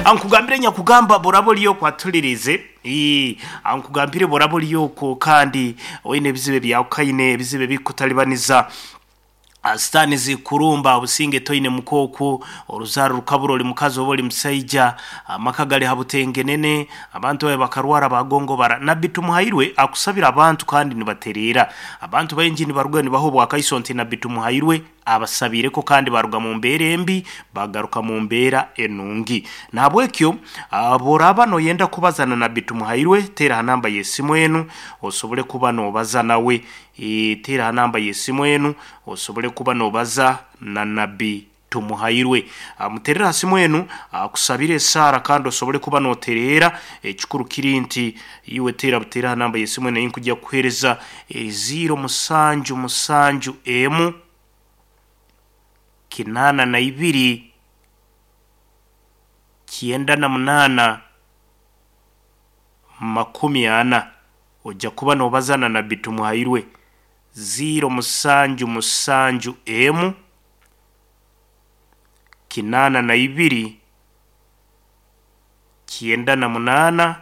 Ankugambire nyakugamba boraba ori okwo atulirize. Ii, Ankugambire boraba ori okwo kandi oine ebizibu ebyakukaine, ebizibu ebikukutalibaniza. Sitaani zikurumba, obusinge toine muka okwo, oruzaaro rukabura ori mukazi oba ori musaija, amaka gari ha butengenene, abantu baawe bakarwara baagongobara. Nabbi Tumuhairwe akusabira abantu kandi nibatereera. Abantu baingi nibaruga nibaha obwakaiso nti Nabbi Tumuhairwe abasabiireko kandi baaruga mu mbeera embi baagaruka mu mbeera enungi. Nahabwekyo bworaaba noyenda kubaza na Nabbi Tumuhairwe, teera aha namba y'esimu enu osobole kuba noobaza nawe. Teera aha namba y'esimu enu osobole kuba noobaza na Nabbi Tumuhairwe. Muteerere aha simu enu akusabire esaara kandi osobole kuba nootereera. Ekikuru kiri nti iwe teera buteere aha namba y'esimu enu ei nkugya kukuheereza eri ziiro musanju musanju emu kinaana na ibiri kyenda na munaana 40. Oja kuba noobaza na Nabbi Tumuhairwe. Ziiro musanju musanju emu 82 98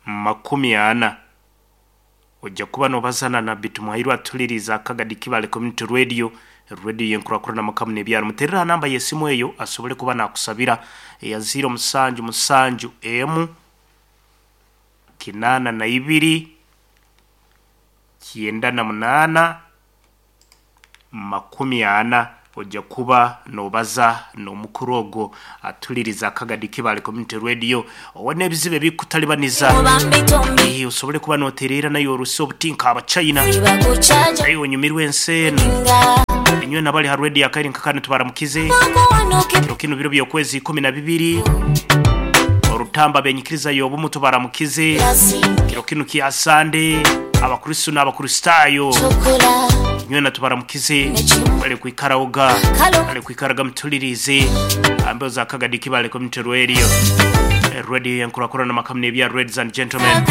40. Oja kuba noobaza na Nabbi Tumuhairwe atuliriize Akagadi Kibale Community Radio, Radio y'enkurakurana amaka muno ebyaro. Muteerere aha namba y'esimu eyo asobole kuba naakusabira eya ziiro musanju musanju emu 82 98 40. Oja kuba noobaza n'omukuru ogwo atulirize Akagadi Kibale Community Radio. Owe n'ebizibu ebikukutalibaniza, eh, osobole kuba nootereera naye oruse obuti nka Abachina. Naye onyumirwe ensi enu. Inywena abali ha radio akaire nka kanu tubaramukize. Kiro kinu biro by'okwezi 12 Orutamba ab'enyikiriza y'obumu tubaramukize. Kiro kinu kya Sande Abakristo n'Abakristaayo inywena tubaramukize. Bale kwikaraoga, bale kwikaraga mutuliriize aha mbeho za Kagadi Kibale Community Radio. Radio y'enkurakurana amaka muno ebya Ladies and Gentlemen.